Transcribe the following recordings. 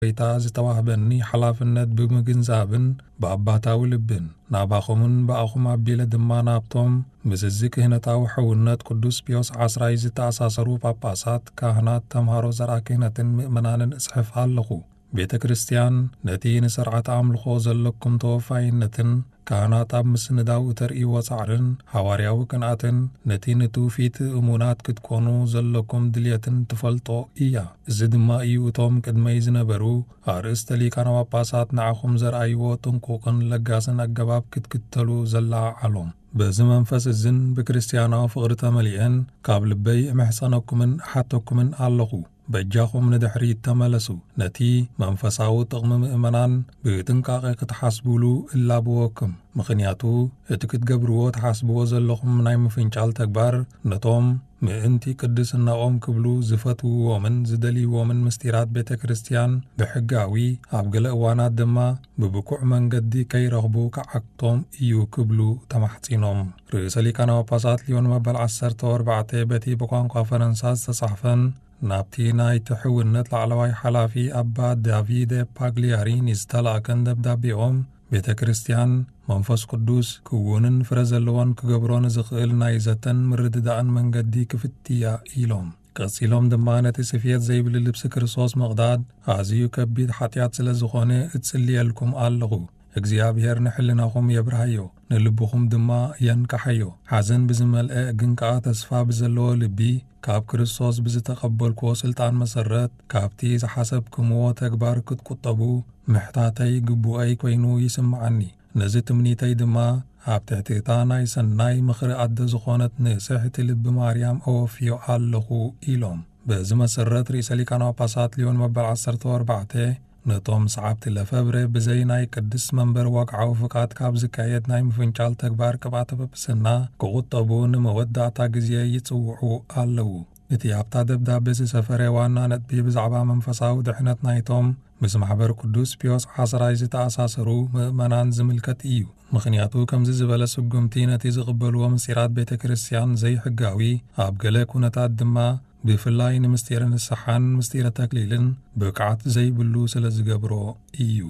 ጎይታ ዝተዋህበኒ ሓላፍነት ብምግንዛብን ብኣባታዊ ልብን ናባኹምን ብኣኹም ኣቢለ ድማ ናብቶም ምስዚ ክህነታዊ ሕውነት ቅዱስ ፒዮስ ዓስራይ ዝተኣሳሰሩ ጳጳሳት፣ ካህናት፣ ተምሃሮ ዘርኣ ክህነትን ምእመናንን እጽሕፍ ኣለኹ። ቤተ ክርስቲያን ነቲ ንስርዓት ኣምልኾ ዘለኩም ተወፋይነትን ካህናት ኣብ ምስንዳው እተርእይዎ ጻዕርን ሓዋርያዊ ቅንኣትን ነቲ ንትውፊት እሙናት ክትኮኑ ዘለኩም ድልየትን ትፈልጦ እያ። እዚ ድማ እዩ እቶም ቅድመይ ዝነበሩ ኣርእስተ ሊቃነ ጳጳሳት ንዓኹም ዘርኣይዎ ጥንቁቕን ለጋስን ኣገባብ ክትክተሉ ዘለዓዓሎም። በዚ መንፈስ እዝን ብክርስትያናዊ ፍቕሪ ተመሊአን ካብ ልበይ እምሕጸነኩምን እሓተኩምን ኣለኹ። በጃኹም ንድሕሪት ተመለሱ። ነቲ መንፈሳዊ ጥቕሚ ምእመናን ብጥንቃቐ ክትሓስቡሉ እላብወኩም። ምኽንያቱ እቲ ክትገብርዎ ትሓስብዎ ዘለኹም ናይ ምፍንጫል ተግባር ነቶም ምእንቲ ቅድስናኦም ክብሉ ዝፈትውዎምን ዝደልይዎምን ምስጢራት ቤተ ክርስቲያን ብሕጋዊ፣ ኣብ ገለ እዋናት ድማ ብብቁዕ መንገዲ ከይረኽቡ ክዓግቶም እዩ ክብሉ ተማሕጺኖም። ርእሰ ሊቃነ ጳጳሳት ሊዮን መበል ዓሰርተ ኣርባዕተ በቲ ብቋንቋ ፈረንሳ ዝተጻሕፈን ናብቲ ናይቲ ሕውነት ላዕለዋይ ሓላፊ ኣባ ዳቪደ ፓግሊያሪኒ ዝተላእከን ደብዳቤኦም፣ ቤተ ክርስቲያን መንፈስ ቅዱስ ክውንን ፍረ ዘለዎን ክገብሮ ንዝኽእል ናይ ዘተን ምርድዳእን መንገዲ ክፍትያ ኢሎም። ቀጺሎም ድማ ነቲ ስፍየት ዘይብሉ ልብሲ ክርስቶስ ምቕዳድ ኣዝዩ ከቢድ ሓጢኣት ስለ ዝኾነ እጽልየልኩም ኣለኹ። እግዚኣብሔር ንሕልናኹም የብርሃዮ፣ ንልብኹም ድማ የንቅሓዮ። ሓዘን ብዝመልአ ግን ከኣ ተስፋ ብዘለዎ ልቢ ካብ ክርስቶስ ብዝተቐበልክዎ ስልጣን መሰረት ካብቲ ዝሓሰብክምዎ ተግባር ክትቁጠቡ ምሕታተይ ግቡኣይ ኮይኑ ይስምዓኒ። ነዚ ትምኒተይ ድማ ኣብ ትሕቲ እታ ናይ ሰናይ ምኽሪ ኣደ ዝኾነት ንጽሕቲ ልቢ ማርያም ኣወፍዮ ኣለኹ ኢሎም። በዚ መሰረት ርእሰ ሊቃነ ጳጳሳት ሊዮን መበል ዓሰርተ ኣርባዕተ ነቶም ሰዓብቲ ለፈብረ ብዘይ ናይ ቅድስት መንበር ወግዓዊ ፍቃድ ካብ ዝካየድ ናይ ምፍንጫል ተግባር ቅብኣተ ጵጵስና ክቑጠቡ ንመወዳእታ ግዜ ይጽውዑ ኣለዉ። እቲ ኣብታ ደብዳቤ ዝሰፈረ ዋና ነጥቢ ብዛዕባ መንፈሳዊ ድሕነት ናይቶም ምስ ማሕበር ቅዱስ ፒዮስ ዓስራይ ዝተኣሳሰሩ ምእመናን ዝምልከት እዩ። ምኽንያቱ ከምዚ ዝበለ ስጉምቲ ነቲ ዝቕበልዎ ምስጢራት ቤተ ክርስቲያን ዘይሕጋዊ፣ ኣብ ገለ ኩነታት ድማ ብፍላይ ንምስጢረ ንስሓን ምስጢረ ተክሊልን ብቕዓት ዘይብሉ ስለ ዝገብሮ እዩ።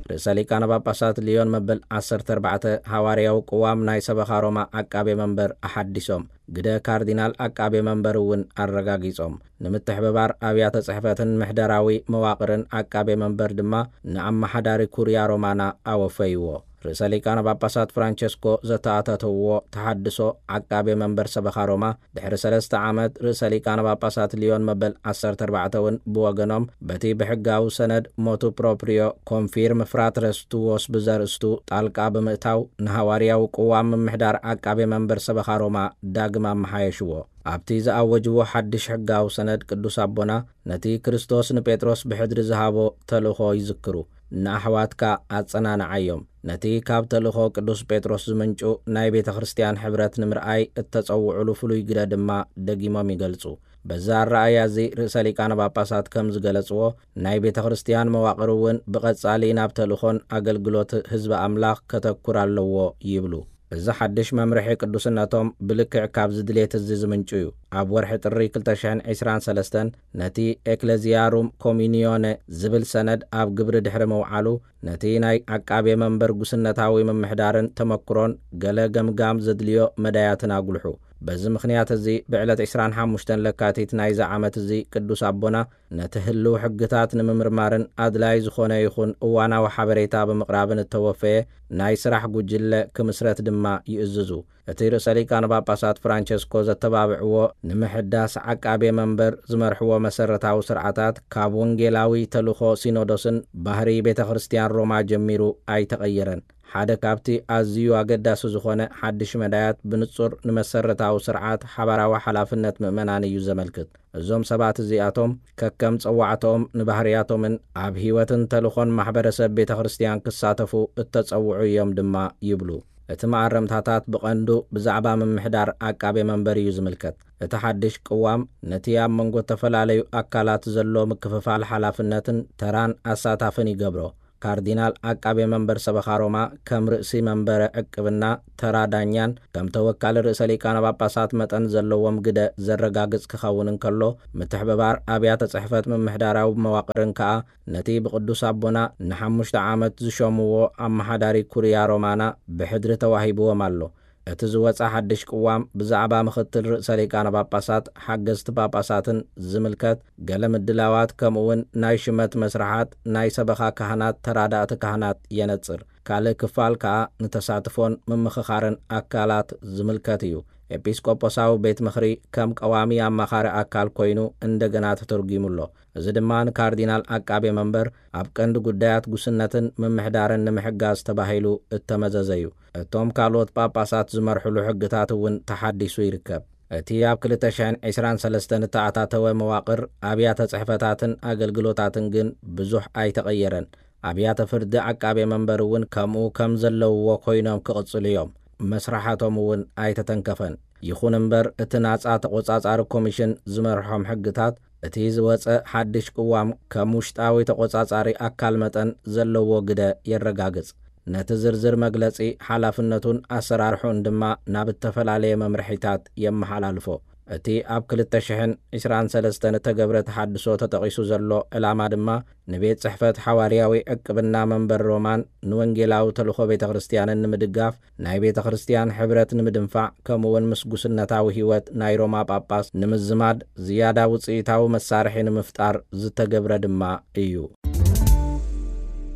ርእሰ ሊቃነ ጳጳሳት ሊዮን መበል ዓሰርተ ኣርባዕተ ሃዋርያዊ ቅዋም ናይ ሰበኻ ሮማ ዓቃቤ መንበር ኣሓዲሶም ግደ ካርዲናል ዓቃቤ መንበር እውን ኣረጋጊጾም። ንምትሕብባር ኣብያተ ጽሕፈትን ምሕደራዊ መዋቕርን ዓቃቤ መንበር ድማ ንኣመሓዳሪ ኩርያ ሮማና ኣወፈይዎ። ርእሰ ሊቃነ ጳጳሳት ፍራንቸስኮ ዘተኣታተውዎ ተሓድሶ ዓቃቤ መንበር ሰበኻ ሮማ ድሕሪ ሰለስተ ዓመት ርእሰ ሊቃነ ጳጳሳት ሊዮን መበል ዓሰርተ ኣርባዕተ እውን ብወገኖም በቲ ብሕጋዊ ሰነድ ሞቱ ፕሮፕሪዮ ኮንፊርም ፍራትረስ ቱዎስ ብዘርእስቱ ጣልቃ ብምእታው ንሃዋርያዊ ቅዋም ምምሕዳር ዓቃቤ መንበር ሰበኻ ሮማ ዳግም ኣመሓየሽዎ። ኣብቲ ዝኣወጅዎ ሓድሽ ሕጋዊ ሰነድ ቅዱስ ኣቦና ነቲ ክርስቶስ ንጴጥሮስ ብሕድሪ ዝሃቦ ተልእኾ ይዝክሩ። ንኣሕዋትካ ኣጸናንዓዮም። ነቲ ካብ ተልእኾ ቅዱስ ጴጥሮስ ዝምንጩ ናይ ቤተ ክርስቲያን ሕብረት ንምርኣይ እተጸውዑሉ ፍሉይ ግደ ድማ ደጊሞም ይገልጹ። በዚ ኣረኣእያ እዚ ርእሰ ሊቃነ ጳጳሳት ከም ዝገለጽዎ ናይ ቤተ ክርስቲያን መዋቕር እውን ብቐጻሊ ናብ ተልእኾን ኣገልግሎት ህዝቢ ኣምላኽ ከተኩር ኣለዎ ይብሉ። እዚ ሓድሽ መምርሒ ቅዱስነቶም ብልክዕ ካብዚ ድሌት እዚ ዝምንጩ እዩ። ኣብ ወርሒ ጥሪ ክልተ ሽሕን ዕስራን ሰለስተን ነቲ ኤክለዚያሩም ኮሚኒዮነ ዝብል ሰነድ ኣብ ግብሪ ድሕሪ ምውዓሉ ነቲ ናይ ዓቃቤ መንበር ጉስነታዊ ምምሕዳርን ተመክሮን ገለ ገምጋም ዘድልዮ መዳያትን ኣጉልሑ። በዚ ምኽንያት እዚ ብዕለት ዕስራን ሓሙሽተን ለካቲት ናይዚ ዓመት እዚ ቅዱስ ኣቦና ነቲ ህልው ሕግታት ንምምርማርን ኣድላይ ዝኾነ ይኹን እዋናዊ ሓበሬታ ብምቕራብን እተወፈየ ናይ ስራሕ ጉጅለ ክምስረት ድማ ይእዝዙ። እቲ ርእሰ ሊቃነ ጳጳሳት ፍራንቸስኮ ዘተባብዕዎ ንምሕዳስ ዓቃቤ መንበር ዝመርሕዎ መሰረታዊ ስርዓታት ካብ ወንጌላዊ ተልእኾ ሲኖዶስን ባህሪ ቤተ ክርስቲያን ሮማ ጀሚሩ ኣይተቐየረን። ሓደ ካብቲ ኣዝዩ ኣገዳሲ ዝኾነ ሓድሽ መዳያት ብንጹር ንመሰረታዊ ስርዓት ሓባራዊ ሓላፍነት ምእመናን እዩ ዘመልክት። እዞም ሰባት እዚኣቶም ከከም ጸዋዕተኦም ንባህርያቶምን ኣብ ህይወትን ተልኾን ማሕበረሰብ ቤተ ክርስቲያን ክሳተፉ እተጸውዑ እዮም ድማ ይብሉ። እቲ መኣረምታታት ብቐንዱ ብዛዕባ ምምሕዳር ዓቃቤ መንበር እዩ ዝምልከት። እቲ ሓድሽ ቅዋም ነቲ ኣብ መንጎ እተፈላለዩ ኣካላት ዘሎ ምክፍፋል ሓላፍነትን ተራን ኣሳታፍን ይገብሮ። ካርዲናል ዓቃቤ መንበር ሰበኻ ሮማ ከም ርእሲ መንበረ ዕቅብና ተራ ዳኛን ከም ተወካሊ ርእሰ ሊቃነ ጳጳሳት መጠን ዘለዎም ግደ ዘረጋግጽ ክኸውን እንከሎ፣ ምትሕብባር ኣብያተ ጽሕፈት ምምሕዳራዊ መዋቕርን ከኣ ነቲ ብቅዱስ ኣቦና ንሓሙሽተ ዓመት ዝሾምዎ ኣመሓዳሪ ኩርያ ሮማና ብሕድሪ ተዋሂብዎም ኣሎ። እቲ ዝወጸ ሓድሽ ቅዋም ብዛዕባ ምኽትል ርእሰ ሊቃነ ጳጳሳት፣ ሓገዝቲ ጳጳሳትን ዝምልከት ገለ ምድላዋት፣ ከምኡውን ናይ ሽመት መስርሓት፣ ናይ ሰበኻ ካህናት፣ ተራዳእቲ ካህናት የነጽር። ካልእ ክፋል ከኣ ንተሳትፎን ምምኽኻርን ኣካላት ዝምልከት እዩ። ኤጲስቆጶሳዊ ቤት ምኽሪ ከም ቀዋሚ ኣማኻሪ ኣካል ኮይኑ እንደገና ተተርጒሙ ኣሎ። እዚ ድማ ንካርዲናል ዓቃቤ መንበር ኣብ ቀንዲ ጉዳያት ጉስነትን ምምሕዳርን ንምሕጋዝ ተባሂሉ እተመዘዘ እዩ። እቶም ካልኦት ጳጳሳት ዝመርሕሉ ሕግታት እውን ተሓዲሱ ይርከብ። እቲ ኣብ ክልተ ሽሕን ዕስራን ሰለስተን እተኣታተወ መዋቕር ኣብያተ ጽሕፈታትን ኣገልግሎታትን ግን ብዙሕ ኣይተቐየረን። ኣብያተ ፍርዲ ዓቃቤ መንበር እውን ከምኡ ከም ዘለውዎ ኮይኖም ክቕጽሉ እዮም። መስራሓቶም እውን ኣይተተንከፈን። ይኹን እምበር፣ እቲ ናጻ ተቖጻጻሪ ኮሚሽን ዝመርሖም ሕግታት፣ እቲ ዝወጸ ሓድሽ ቅዋም ከም ውሽጣዊ ተቖጻጻሪ ኣካል መጠን ዘለዎ ግደ የረጋግጽ። ነቲ ዝርዝር መግለጺ ሓላፍነቱን ኣሰራርሑን ድማ ናብ እተፈላለየ መምርሒታት የመሓላልፎ። እቲ ኣብ ክልተ ሽሕን ዕስራን ሰለስተን እተገብረ ተሓድሶ ተጠቒሱ ዘሎ ዕላማ ድማ፣ ንቤት ጽሕፈት ሓዋርያዊ ዕቅብና መንበር ሮማን ንወንጌላዊ ተልእኾ ቤተ ክርስቲያንን ንምድጋፍ፣ ናይ ቤተ ክርስቲያን ሕብረት ንምድንፋዕ፣ ከምኡውን ምስ ጉስነታዊ ህይወት ናይ ሮማ ጳጳስ ንምዝማድ፣ ዝያዳ ውጽኢታዊ መሳርሒ ንምፍጣር ዝተገብረ ድማ እዩ።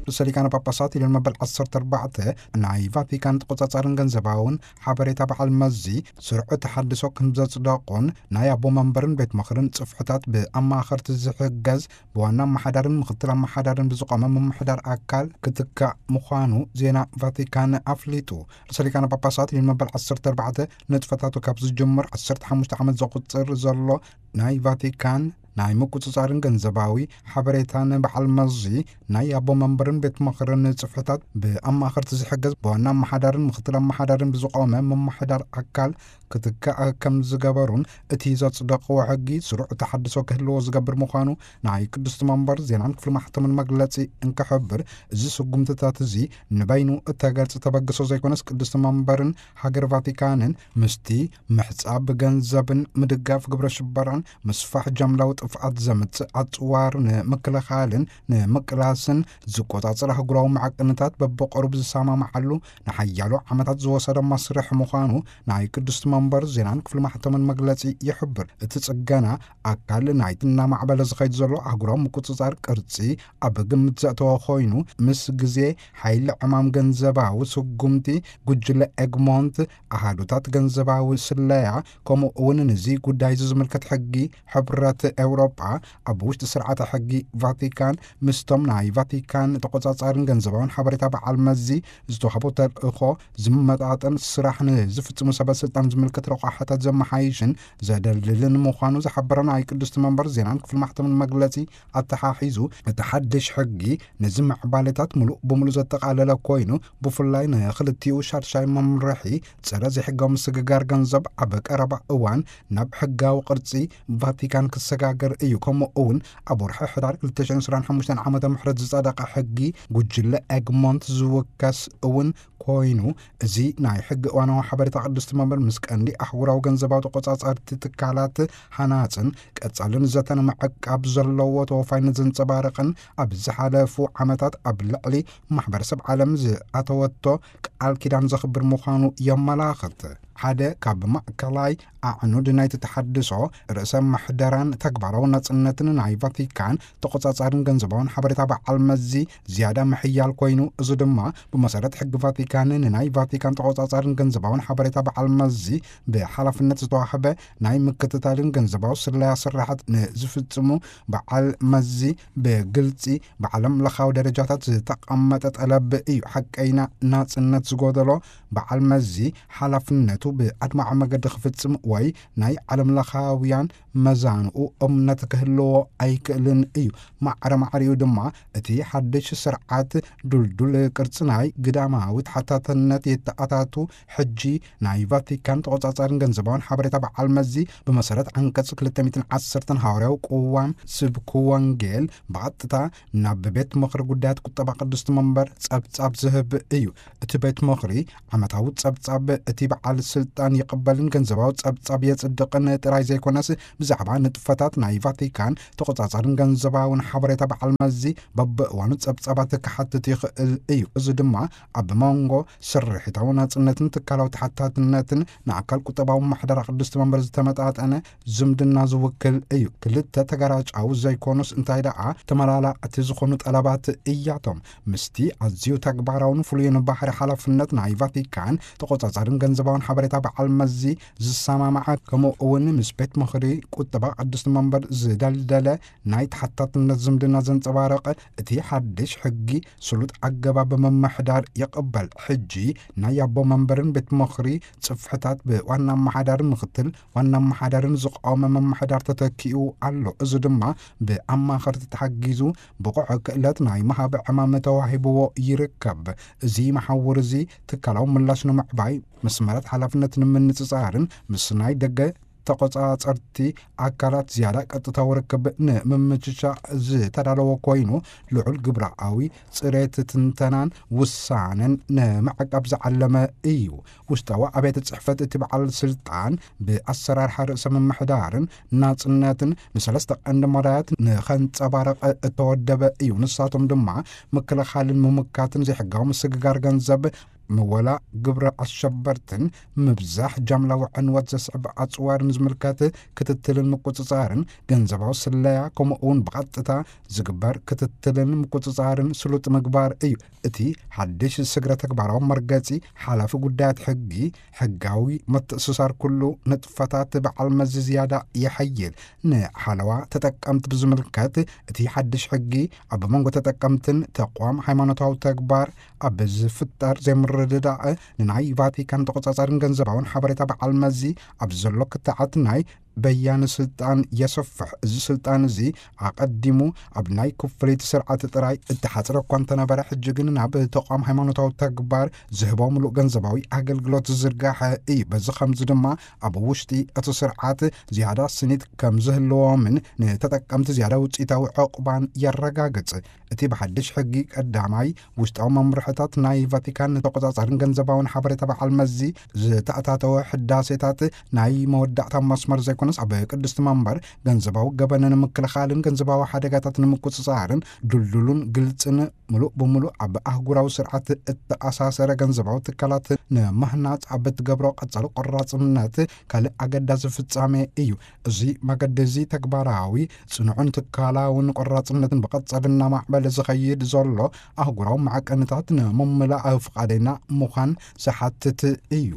ርእሰ ሊቃነ ጳጳሳት ሊዮን መበል ዓሰርተ ኣርባዕተ ናይ ቫቲካን ተቆጻጻርን ገንዘባውን ሓበሬታ በዓል መዚ ስርዑ ተሓድሶ ከም ዘጽደቑን፣ ናይ ኣቦ መንበርን ቤት ምኽርን ጽፍሕታት ብኣማኸርቲ ዝሕገዝ ብዋና ኣመሓዳርን ምኽትል ኣመሓዳርን ብዝቖመ ምምሕዳር ኣካል ክትካእ ምዃኑ ዜና ቫቲካን ኣፍሊጡ። ርእሰ ሊቃነ ጳጳሳት ሊዮን መበል ዓሰርተ ኣርባዕተ ንጥፈታቱ ካብ ዝጅምር ዓሰርተ ሓሙሽተ ዓመት ዘቑጽር ዘሎ ናይ ቫቲካን ናይ ምቁጽጻርን ገንዘባዊ ሓበሬታን በዓል መዚ ናይ ኣቦ መንበርን ቤት ምኽርን ጽፍሕታት ብኣማኸርቲ ዝሕገዝ ብዋና ኣመሓዳርን ምኽትል ኣመሓዳርን ብዝቖመ ምምሕዳር ኣካል ክትካእ ከም ዝገበሩን፣ እቲ ዘጽደቕዎ ሕጊ ስሩዕ ተሓድሶ ክህልዎ ዝገብር ምዃኑ ናይ ቅድስቲ መንበር ዜናን ክፍሊ ማሕተምን መግለጺ እንክሕብር፣ እዚ ስጉምትታት እዚ ንበይኑ እተገልጸ ተበግሶ ዘይኮነስ፣ ቅድስቲ መንበርን ሃገር ቫቲካንን ምስቲ ምሕጻብ ገንዘብን ምድጋፍ ግብረ ሽበራን ምስፋሕ ጃምላዊ ጥፍኣት ዘምጽእ ኣጽዋር ንምክልኻልን ንምቅላስን ዝቆጻጸር ኣህጉራዊ መዐቀንታት በብቐሩብ ዝሰማምዓሉ ንሓያሎ ዓመታት ዝወሰደ መስርሕ ምዃኑ ናይ ቅድስቲ መንበር ዜናን ክፍሊ ማሕተምን መግለጺ ይሕብር። እቲ ጽገና ኣካል ናይቲ እናማዕበለ ዝኸይድ ዘሎ ኣህጉራዊ ምቁጽጻር ቅርጺ ኣብ ግምት ዘእተወ ኮይኑ፣ ምስ ግዜ ሓይሊ ዕማም ገንዘባዊ ስጉምቲ ጉጅለ ኤግሞንት፣ ኣሃዱታት ገንዘባዊ ስለያ፣ ከምኡ እውን ንዚ ጉዳይ እዚ ዝምልከት ሕጊ ሕብረት ኤውሮጳ፣ ኣብ ውሽጢ ስርዓተ ሕጊ ቫቲካን ምስቶም ናይ ቫቲካን ተቆጻጻርን ገንዘባውን ሓበሬታ በዓል መዚ ዝተዋህቦ ተልእኾ ዝመጣጠን ስራሕ ንዝፍጽሙ ሰበ ስልጣን ዝምልከት ረቋሕታት ዘመሓይሽን ዘደልድልን ምዃኑ ዝሓበረ ናይ ቅድስቲ መንበር ዜናን ክፍሊ ማሕተምን መግለጺ ኣተሓሒዙ፣ እቲ ሓድሽ ሕጊ ነዚ ምዕባለታት ምሉእ ብምሉእ ዘጠቓለለ ኮይኑ፣ ብፍላይ ንኽልቲኡ ሻድሻይ መምርሒ ጸረ ዘይሕጋዊ ምስግጋር ገንዘብ ኣብ ቀረባ እዋን ናብ ሕጋዊ ቅርጺ ቫቲካን ክሰጋገር እዩ። ከምኡ እውን ኣብ ወርሒ ሕዳር ክልተ ሽሕን ዕስራን ሓሙሽተን ዓመተ ምሕረት ዝጸደቐ ሕጊ ጉጅለ ኤግሞንት ዝውከስ እውን ኮይኑ፣ እዚ ናይ ሕጊ እዋናዊ ሓበሬታ ቅድስቲ መንበር ምስ ቀንዲ ኣህጉራዊ ገንዘባዊ ተቆጻጸርቲ ትካላት ሃናጽን ቀጻልን ዘተን ምዕቃብ ዘለዎ ተወፋይነት ዘንጸባርቕን፣ ኣብ ዝሓለፉ ዓመታት ኣብ ልዕሊ ማሕበረሰብ ዓለም ዝኣተወቶ ቃል ኪዳን ዘኽብር ምዃኑ የመላኽት። ሓደ ካብ ማእከላይ ኣዕኑድ ናይቲ ተሓድሶ፣ ርእሰ ምሕደራን ተግባራዊ ናጽነትን ናይ ቫቲካን ተቆጻጻርን ገንዘባውን ሓበሬታ በዓል መዚ ዝያዳ ምሕያል ኮይኑ፣ እዚ ድማ ብመሰረት ሕጊ ቫቲካን ንናይ ቫቲካን ተቆጻጻርን ገንዘባውን ሓበሬታ በዓል መዚ ብሓላፍነት ዝተዋህበ ናይ ምክትታልን ገንዘባዊ ስለያ ስራሓት ንዝፍጽሙ በዓል መዚ ብግልጺ ብዓለም ለኻዊ ደረጃታት ዝተቐመጠ ጠለብ እዩ። ሓቀይና ናጽነት ዝጎደሎ በዓል መዚ ሓላፍነቱ ብኣድማዒ መገዲ ክፍጽም ወይ ናይ ዓለም ለኻውያን መዛንኡ እምነት ክህልዎ ኣይክእልን እዩ። ማዕረ ማዕሪኡ ድማ እቲ ሓድሽ ስርዓት ድልዱል ቅርጺ ናይ ግዳማዊ ተሓታትነት የተኣታቱ። ሕጂ ናይ ቫቲካን ተቖጻጻርን ገንዘባውን ሓበሬታ በዓል መዚ ብመሰረት ዓንቀጽ ክልተ ሚእትን ዓሰርተ ሃዋርያዊ ቅዋም ስብኪ ወንጌል ብቐጥታ ናብ ቤት ምኽሪ ጉዳያት ቁጠባ ቅድስቲ መንበር ጸብጻብ ዝህብ እዩ። እቲ ቤት ምኽሪ ዓመታዊ ጸብጻብ እቲ በዓል ስልጣን ይቕበልን ገንዘባዊ ጸብጻብ የጽድቕን ጥራይ ዘይኮነስ፣ ብዛዕባ ንጥፈታት ናይ ቫቲካን ተቖጻጻርን ገንዘባውን ሓበሬታ በዓል መዚ በብእዋኑ ጸብጻባት ክሓትት ይኽእል እዩ። እዚ ድማ ኣብ መንጎ ስርሒታዊ ናጽነትን ትካላዊ ተሓታትነትን ንኣካል ቁጠባዊ ማሕደራ ቅድስቲ መንበር ዝተመጣጠነ ዝምድና ዝውክል እዩ። ክልተ ተገራጫዊ ዘይኮኑስ፣ እንታይ ደኣ ተመላላእቲ ዝኾኑ ጠለባት እያቶም። ምስቲ ኣዝዩ ተግባራውን ፍሉይን ባህሪ ሓላፍነት ናይ ቫቲካን ተቖጻጻርን ገንዘባውን ሓበሬታ በዓል መዚ ዝሰማማዐ፣ ከምኡ እውን ምስ ቤት ምኽሪ ቁጠባ ቅድስቲ መንበር ዝደልደለ ናይ ተሓታትነት ዝምድና ዘንጸባረቐ፣ እቲ ሓድሽ ሕጊ ስሉጥ ኣገባብ ምምሕዳር ይቕበል። ሕጂ ናይ ኣቦ መንበርን ቤት ምኽሪ ጽፍሕታት ብዋና ኣመሓዳርን ምኽትል ዋና ኣመሓዳርን ዝቖመ ምምሕዳር ተተኪኡ ኣሎ። እዚ ድማ ብኣማኸርቲ ተሓጊዙ ብቑዕ ክእለት ናይ ምሃብ ዕማም ተዋሂብዎ ይርከብ። እዚ መሓውር እዚ ትካላዊ ምላሽ ንምዕባይ፣ መስመራት ሓላፍነት ንምንጽጻርን ምስ ናይ ደገ ተቖጻጸርቲ ኣካላት ዝያዳ ቀጥታዊ ርክብ ንምምችቻ ዝተዳለወ ኮይኑ፣ ልዑል ግብራዊ ጽሬት ትንተናን ውሳነን ንምዕቃብ ዝዓለመ እዩ። ውሽጣዊ ኣብያተ ጽሕፈት እቲ በዓል ስልጣን ብኣሰራርሓ ርእሰ ምምሕዳርን ናጽነትን ንሰለስተ ቀንዲ መዳያት ንኸንጸባረቐ እተወደበ እዩ። ንሳቶም ድማ ምክልኻልን ምምካትን ዘይሕጋዊ ምስግጋር ገንዘብ፣ ምወላ ግብረ ኣሸበርትን ምብዛሕ ጃምላዊ ዕንወት ዘስዕብ ኣጽዋርን ዝምልከት ክትትልን ምቁጽጻርን፣ ገንዘባዊ ስለያ፣ ከምኡ እውን ብቐጥታ ዝግበር ክትትልን ምቁጽጻርን ስሉጥ ምግባር እዩ። እቲ ሓድሽ ስግረ ተግባራዊ መርገጺ ሓላፊ ጉዳያት ሕጊ፣ ሕጋዊ ምትእስሳር ኩሉ ንጥፈታት በዓል መዚ ዝያዳ የሐይል። ንሓለዋ ተጠቀምቲ ብዝምልከት፣ እቲ ሓድሽ ሕጊ ኣብ መንጎ ተጠቀምትን ተቋም ሃይማኖታዊ ተግባር ኣብ ዝፍጠር ዘይምርድዳእ፣ ንናይ ቫቲካን ተቆጻጻርን ገንዘባውን ሓበሬታ በዓል መዚ ኣብ ዘሎ ክትዓት ናይ በያኒ ስልጣን የሰፍሕ። እዚ ስልጣን እዚ ኣቐዲሙ ኣብ ናይ ክፍሊት ስርዓት ጥራይ እተሓጽረ እኳ እንተነበረ፣ ሕጂ ግን ናብ ተቋም ሃይማኖታዊ ተግባር ዝህቦ ምሉእ ገንዘባዊ ኣገልግሎት ዝዝርጋሐ እዩ። በዚ ከምዚ ድማ ኣብ ውሽጢ እቲ ስርዓት ዝያዳ ስኒት ከም ዝህልዎምን ንተጠቀምቲ ዝያዳ ውጽኢታዊ ዕቑባን የረጋግጽ። እቲ ብሓድሽ ሕጊ ቀዳማይ ውሽጣዊ መምርሕታት ናይ ቫቲካን ንተቆጻጻርን ገንዘባውን ሓበሬታ በዓል መዚ ዝተኣታተወ ሕዳሴታት ናይ መወዳእታ መስመር ዘይኮነስ፣ ኣብ ቅድስቲ መንበር ገንዘባዊ ገበን ንምክልኻልን ገንዘባዊ ሓደጋታት ንምቁጽጻርን ድልዱሉን ግልጽን ምሉእ ብምሉእ ኣብ ኣህጉራዊ ስርዓት እተኣሳሰረ ገንዘባዊ ትካላት ንምህናጽ ኣብ እትገብሮ ቀጻሊ ቆራጽነት ካልእ ኣገዳሲ ፍጻሜ እዩ። እዚ መገዲ እዚ ተግባራዊ፣ ጽኑዕን ትካላውን ቆራጽነትን ብቐጻሊ እናማዕበለ ዝኸይድ ዘሎ ኣህጉራዊ ማዕቀንታት ንምምላእ ፍቓደኛ ምዃን ዝሓትት እዩ።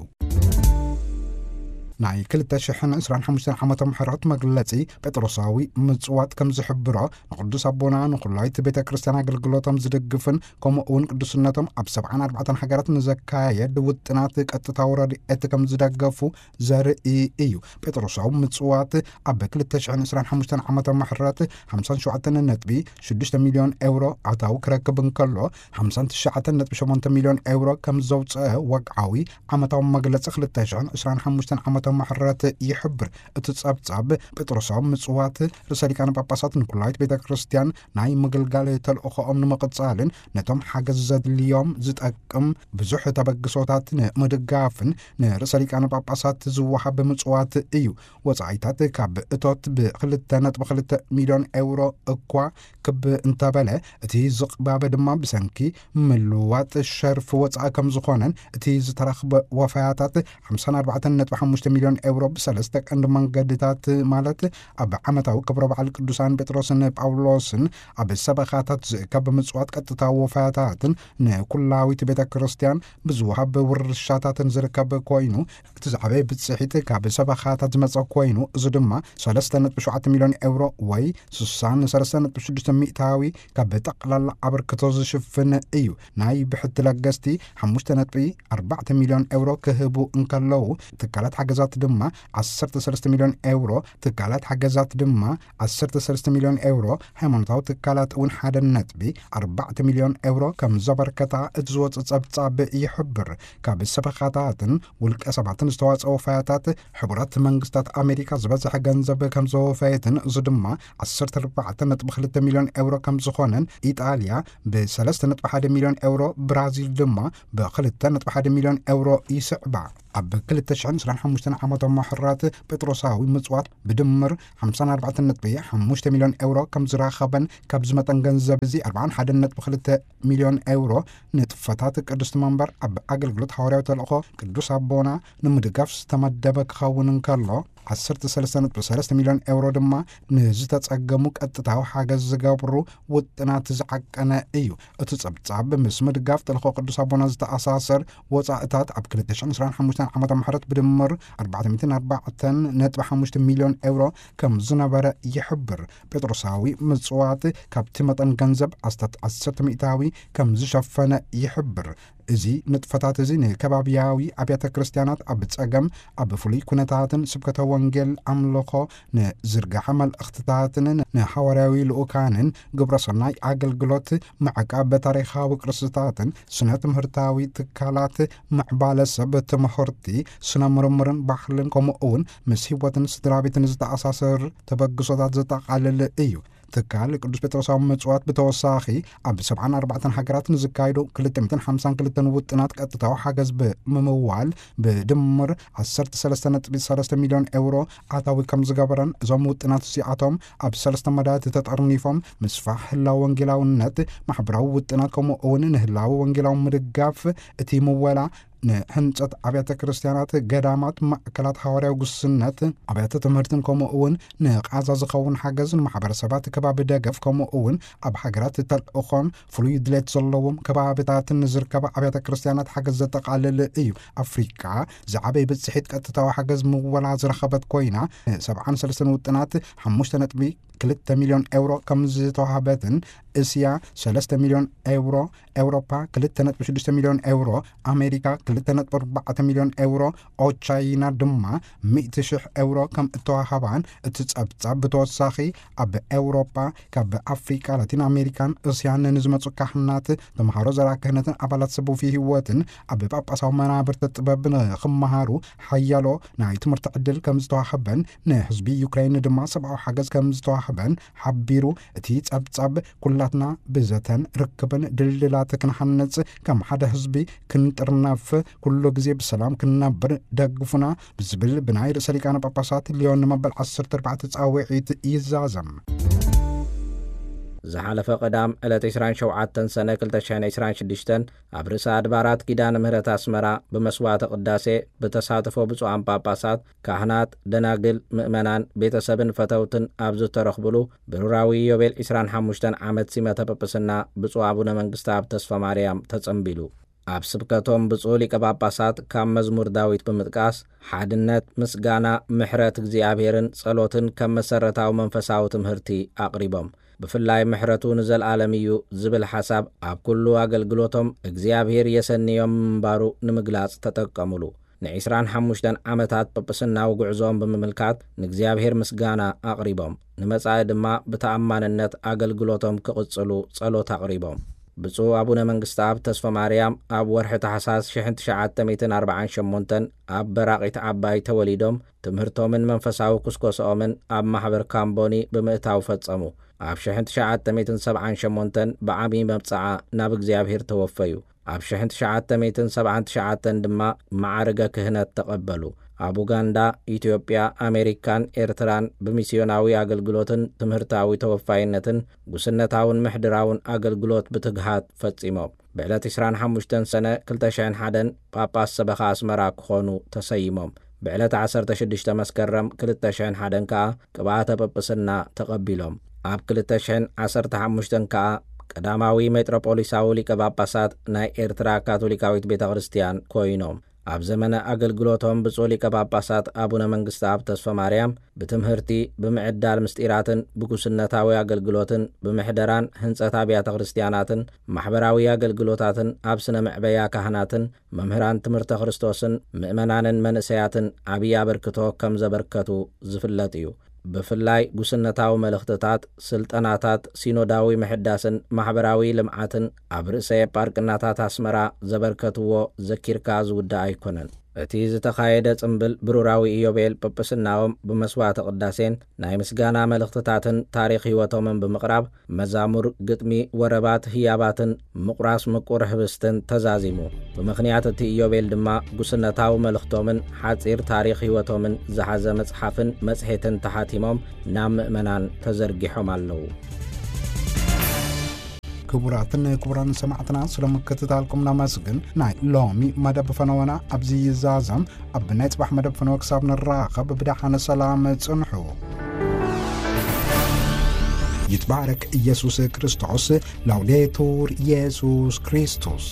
ናይ ክልተ ሽሕን ዕስራን ሓሙሽተን ዓመተ ምሕረት መግለጺ ጴጥሮሳዊ ምጽዋት ከም ዝሕብሮ፣ ንቅዱስ ኣቦና ንኩላይት ቤተ ክርስቲያን ኣገልግሎቶም ዝድግፍን ከምኡ እውን ቅዱስነቶም ኣብ ሰብዓን ኣርባዕተን ሃገራት ንዘካየድ ውጥናት ቀጥታዊ ረድኤት ከም ዝደገፉ ዘርኢ እዩ። ጴጥሮሳዊ ምጽዋት ኣብ ክልተ ሽሕን ዕስራን ሓሙሽተን ዓመተ ምሕረት ሓምሳን ሸውዓተን ነጥቢ ሽዱሽተ ሚልዮን ኤውሮ ኣታዊ ክረክብ እንከሎ፣ ሓምሳን ትሽዓተን ነጥቢ ሸሞንተ ሚልዮን ኤውሮ ከም ዘውጽአ ወግዓዊ ዓመታዊ መግለጺ ክልተ ሽሕን ዕስራን ሓሙሽተን ዓመተ ምሕረት ይሕብር። እቲ ጸብጻብ ጴጥሮሳዊ ምጽዋት ርእሰ ሊቃነ ጳጳሳት ንኩላይት ቤተ ክርስቲያን ናይ ምግልጋል ተልእኾኦም ንምቕጻልን ነቶም ሓገዝ ዘድልዮም ዝጠቅም ብዙሕ ተበግሶታት ንምድጋፍን ንርእሰ ሊቃነ ጳጳሳት ዝወሃብ ምጽዋት እዩ። ወጻኢታት ካብ እቶት ብክልተ ነጥቢ ክልተ ሚልዮን ኤውሮ እኳ ክብ እንተበለ፣ እቲ ዝቕባበ ድማ ብሰንኪ ምልዋጥ ሸርፊ ወጻኢ ከም ዝኾነን፣ እቲ ዝተረኽበ ወፈያታት ሓምሳን ኣርባዕተን ነጥቢ ሓሙሽተ ሚልዮን ኤውሮ ብሰለስተ ቀንዲ መንገድታት፣ ማለት ኣብ ዓመታዊ ክብረ በዓል ቅዱሳን ጴጥሮስን ጳውሎስን ኣብ ሰበኻታት ዝእከብ ምጽዋት፣ ቀጥታዊ ወፋያታትን ንኩላዊት ቤተ ክርስቲያን ብዝወሃብ ውርሻታትን ዝርከብ ኮይኑ፣ እቲ ዝዓበየ ብጽሒት ካብ ሰበኻታት ዝመጸ ኮይኑ፣ እዚ ድማ ሰለስተ ነጥቢ ሸውዓተ ሚልዮን ኤውሮ ወይ ስሳን ሰለስተ ነጥቢ ሽዱሽተ ሚእታዊ ካብ ጠቕላላ ኣበርክቶ ዝሽፍን እዩ። ናይ ብሕቲ ለገስቲ ሓሙሽተ ነጥቢ ኣርባዕተ ሚልዮን ኤውሮ ክህቡ እንከለዉ፣ ትካላት ሓገዛት ድማ ዓሰርተ ሰለስተ ሚልዮን ኤውሮ፣ ትካላት ሓገዛት ድማ ዓሰርተ ሰለስተ ሚልዮን ኤውሮ፣ ሃይማኖታዊ ትካላት እውን ሓደ ነጥቢ ኣርባዕተ ሚልዮን ኤውሮ ከም ዘበርከታ እቲ ዝወጽእ ጸብጻብ ይሕብር። ካብ ሰበኻታትን ውልቀ ሰባትን ዝተዋጸኦ ወፋያታት፣ ሕቡራት መንግስታት ኣሜሪካ ዝበዝሐ ገንዘብ ከም ዘወፈየትን፣ እዚ ድማ ዓሰርተ ኣርባዕተ ነጥቢ ክልተ ሚልዮን ኤውሮ ከም ዝኾነን፣ ኢጣልያ ብ ሰለስተ ነጥቢ ሓደ ሚልዮን ኤውሮ፣ ብራዚል ድማ ብ ክልተ ነጥቢ ሓደ ሚልዮን ኤውሮ ይስዕባ። ኣብ ክልተ ሽሕን ዕስራን ሓሙሽተን ዓመተ ምሕረት ጴጥሮሳዊ ምጽዋት ብድምር ሓምሳን ኣርባዕተን ነጥቢ ሓሙሽተ ሚልዮን ኤውሮ ከም ዝረኸበን፣ ካብዚ መጠን ገንዘብ እዚ ኣርባዓን ሓደን ነጥቢ ክልተ ሚልዮን ኤውሮ ንጥፈታት ቅድስቲ መንበር ኣብ ኣገልግሎት ሃዋርያዊ ተልእኾ ቅዱስ ኣቦና ንምድጋፍ ዝተመደበ ክኸውን እንከሎ፣ ዓሰርተ ሰለስተ ነጥቢ ሰለስተ ሚልዮን ኤውሮ ድማ ንዝተጸገሙ ቀጥታዊ ሓገዝ ዝገብሩ ውጥናት ዝዓቀነ እዩ። እቲ ጸብጻብ ምስ ምድጋፍ ተልእኾ ቅዱስ ኣቦና ዝተኣሳሰር ወጻእታት ኣብ ክልተ ሽሕን ዕስራን ሓሙሽተን ዓመተ ምሕረት ብድምር ኣርባዕተ ሚእትን ኣርባዕተን ነጥቢ ሓሙሽተ ሚልዮን ኤውሮ ከም ዝነበረ ይሕብር። ጴጥሮሳዊ ምጽዋት ካብቲ መጠን ገንዘብ ኣስታት ዓሰርተ ሚእታዊ ከም ዝሸፈነ ይሕብር። እዚ ንጥፈታት እዚ ንከባብያዊ ኣብያተ ክርስቲያናት ኣብ ጸገም፣ ኣብ ፍሉይ ኩነታትን ስብከተ ወንጌል ኣምልኾ ንዝርግሐ መልእኽትታትን ንሃዋርያዊ ልኡካንን ግብረ ሰናይ ኣገልግሎት፣ ምዕቃብ ታሪኻዊ ቅርስታትን ስነ ትምህርታዊ ትካላት፣ ምዕባለ ሰብ ትምህርቲ፣ ስነ ምርምርን ባህልን፣ ከምኡ እውን ምስ ህይወትን ስድራ ቤትን ዝተኣሳሰር ተበግሶታት ዘጠቓልል እዩ። ትካል ቅዱስ ጴጥሮሳዊ ምጽዋት ብተወሳኺ ኣብ ሰብዓን ኣርባዕተን ሃገራት ንዝካየዱ ክልተ ሚእትን ሓምሳን ክልተን ውጥናት ቀጥታዊ ሓገዝ ብምምዋል ብድምር ዓሰርተ ሰለስተ ነጥቢ ሰለስተ ሚልዮን ኤውሮ ኣታዊ ከም ዝገበረን፣ እዞም ውጥናት እዚኣቶም ኣብ ሰለስተ መዳያት ተጠርኒፎም፣ ምስፋሕ ህላወ ወንጌላውነት፣ ማሕበራዊ ውጥናት፣ ከምኡ እውን ንህላወ ወንጌላዊ ምድጋፍ፣ እቲ ምወላ ንህንጸት ኣብያተ ክርስቲያናት፣ ገዳማት፣ ማእከላት ሃዋርያዊ ጉስነት፣ ኣብያተ ትምህርትን ከምኡ እውን ንቓዛ ዝኸውን ሓገዝ፣ ንማሕበረሰባት ከባቢ ደገፍ፣ ከምኡ እውን ኣብ ሃገራት ተልእኾን ፍሉይ ድሌት ዘለዎም ከባብታትን ንዝርከባ ኣብያተ ክርስቲያናት ሓገዝ ዘጠቓልል እዩ። ኣፍሪቃ ዝዓበየ ብጽሒት ቀጥታዊ ሓገዝ ምወላ ዝረኸበት ኮይና፣ ንሰብዓን ሰለስተን ውጥናት ሓሙሽተ ነጥቢ ክልተ ሚልዮን ኤውሮ ከም ዝተዋህበትን፣ እስያ ሰለስተ ሚልዮን ኤውሮ፣ ኤውሮፓ ክልተ ነጥቢ ሽዱሽተ ሚልዮን ኤውሮ፣ ኣሜሪካ ክልተ ነጥቢ ኣርባዕተ ሚልዮን ኤውሮ፣ ኦቻይና ድማ ሚእቲ ሽሕ ኤውሮ ከም እተዋህባን እቲ ጸብጻብ ብተወሳኺ ኣብ ኤውሮፓ ካብ ኣፍሪቃ፣ ላቲን ኣሜሪካን እስያን ንዝመጹ ካህናት፣ ተምሃሮ ዘርኣ ክህነትን ኣባላት ሰብ ውፍይ ህይወትን ኣብ ጳጳሳዊ መናብርተ ጥበብ ንኽመሃሩ ሓያሎ ናይ ትምህርቲ ዕድል ከም ዝተዋህበን፣ ንህዝቢ ዩክሬን ድማ ሰብኣዊ ሓገዝ ከም ዝተዋህበን ሓቢሩ። እቲ ጸብጻብ፣ "ኩላትና ብዘተን ርክብን ድልድላት ክንሓንጽ፣ ከም ሓደ ህዝቢ ክንጥርነፍ፣ ኩሉ ግዜ ብሰላም ክንነብር ደግፉና" ብዝብል ብናይ ርእሰ ሊቃነ ጳጳሳት ሊዮን ንመበል ዓሰርተ ኣርባዕተ ጻውዒት ይዛዘም። ዝሓለፈ ቀዳም ዕለት ዕስራን ሸውዓተን ሰነ ክልተ ሽሕን ዕስራን ሽዱሽተን ኣብ ርእሰ ኣድባራት ኪዳነ ምህረት ኣስመራ ብመስዋዕተ ቅዳሴ ብተሳትፎ ብፁዓን ጳጳሳት፣ ካህናት፣ ደናግል፣ ምእመናን፣ ቤተሰብን ፈተውትን ኣብ ዝተረኽብሉ ብሩራዊ ዮቤል ዕስራን ሓሙሽተን ዓመት ሲመተ ጵጵስና ብፁዕ ኣቡነ መንግስተኣብ ተስፋ ማርያም ተጸንቢሉ። ኣብ ስብከቶም ብፁዕ ሊቀ ጳጳሳት ካብ መዝሙር ዳዊት ብምጥቃስ ሓድነት፣ ምስጋና፣ ምሕረት እግዚኣብሔርን ጸሎትን ከም መሰረታዊ መንፈሳዊ ትምህርቲ ኣቕሪቦም። ብፍላይ ምሕረቱ ንዘለኣለም እዩ ዝብል ሓሳብ ኣብ ኩሉ ኣገልግሎቶም እግዚኣብሔር የሰንዮም ምንባሩ ንምግላጽ ተጠቀሙሉ። ንዕስራን ሓሙሽተን ዓመታት ጵጵስናዊ ጉዕዞኦም ብምምልካት ንእግዚኣብሔር ምስጋና ኣቕሪቦም፣ ንመጻኢ ድማ ብተኣማንነት ኣገልግሎቶም ክቕጽሉ ጸሎት ኣቕሪቦም። ብፁዕ ኣቡነ መንግስተኣብ ተስፋ ማርያም ኣብ ወርሒ ታሕሳስ ሽሕን ትሽዓተ ሚእትን ኣርባዓን ሸሞንተን ኣብ በራቒት ዓባይ ተወሊዶም፣ ትምህርቶምን መንፈሳዊ ኩስኮስኦምን ኣብ ማሕበር ካምቦኒ ብምእታው ፈጸሙ። ኣብ ሽሕን ትሽዓተ ሚእትን ሰብዓን ሸሞንተን ብዓቢ መብጽዓ ናብ እግዚኣብሔር ተወፈዩ። ኣብ ሽሕን ትሽዓተ ሚእትን ሰብዓን ትሽዓተን ድማ መዓርገ ክህነት ተቐበሉ። ኣብ ኡጋንዳ፣ ኢትዮጵያ፣ ኣሜሪካን ኤርትራን ብሚስዮናዊ ኣገልግሎትን ትምህርታዊ ተወፋይነትን ጉስነታውን ምሕድራውን ኣገልግሎት ብትግሃት ፈጺሞም። ብዕለት ዕስራን ሓሙሽተን ሰነ ክልተ ሽሕን ሓደን ጳጳስ ሰበኻ ኣስመራ ክኾኑ ተሰይሞም። ብዕለት ዓሰርተ ሽዱሽተ መስከረም ክልተ ሽሕን ሓደን ከኣ ቅብኣተ ጵጵስና ተቐቢሎም። ኣብ ክልተ ሽሕን ዓሰርተ ሓሙሽተን ከኣ ቀዳማዊ ሜጥሮፖሊሳዊ ሊቀ ጳጳሳት ናይ ኤርትራ ካቶሊካዊት ቤተ ክርስቲያን ኮይኖም። ኣብ ዘመነ ኣገልግሎቶም ብፁዕ ሊቀ ጳጳሳት ኣቡነ መንግስተኣብ ተስፋ ማርያም ብትምህርቲ፣ ብምዕዳል ምስጢራትን ብጉስነታዊ ኣገልግሎትን፣ ብምሕደራን ህንጸት ኣብያተ ክርስቲያናትን ማሕበራዊ ኣገልግሎታትን፣ ኣብ ስነ መዕበያ ካህናትን መምህራን ትምህርተ ክርስቶስን ምእመናንን መንእሰያትን ዓብዪ ኣበርክቶ ከም ዘበርከቱ ዝፍለጥ እዩ። ብፍላይ ጉስነታዊ መልእኽትታት፣ ስልጠናታት፣ ሲኖዳዊ ምሕዳስን ማሕበራዊ ልምዓትን ኣብ ርእሰ ኤጳርቅናታት ኣስመራ ዘበርከትዎ ዘኪርካ ዝውዳእ ኣይኮነን። እቲ ዝተኻየደ ጽምብል ብሩራዊ ኢዮቤል ጵጵስናኦም ብመስዋዕተ ቅዳሴን ናይ ምስጋና መልእኽትታትን ታሪኽ ህይወቶምን ብምቕራብ፣ መዛሙር፣ ግጥሚ፣ ወረባት፣ ህያባትን ምቑራስ ምቁር ህብስትን ተዛዚሙ። ብምኽንያት እቲ ኢዮቤል ድማ ጉስነታዊ መልእኽቶምን ሓጺር ታሪኽ ህይወቶምን ዝሓዘ መጽሓፍን መጽሔትን ተሓቲሞም ናብ ምእመናን ተዘርጊሖም ኣለዉ። ክቡራትን ክቡራን ሰማዕትና፣ ስለ ምክትታልኩም ነመስግን። ናይ ሎሚ መደብ ፈነወና ኣብዚ ይዛዘም። ኣብ ናይ ጽባሕ መደብ ፈነወ ክሳብ ንራኸብ ብደሓነ ሰላም ጽንሑ። ይትባረክ ኢየሱስ ክርስቶስ። ላውዴቱር ኢየሱስ ክርስቶስ።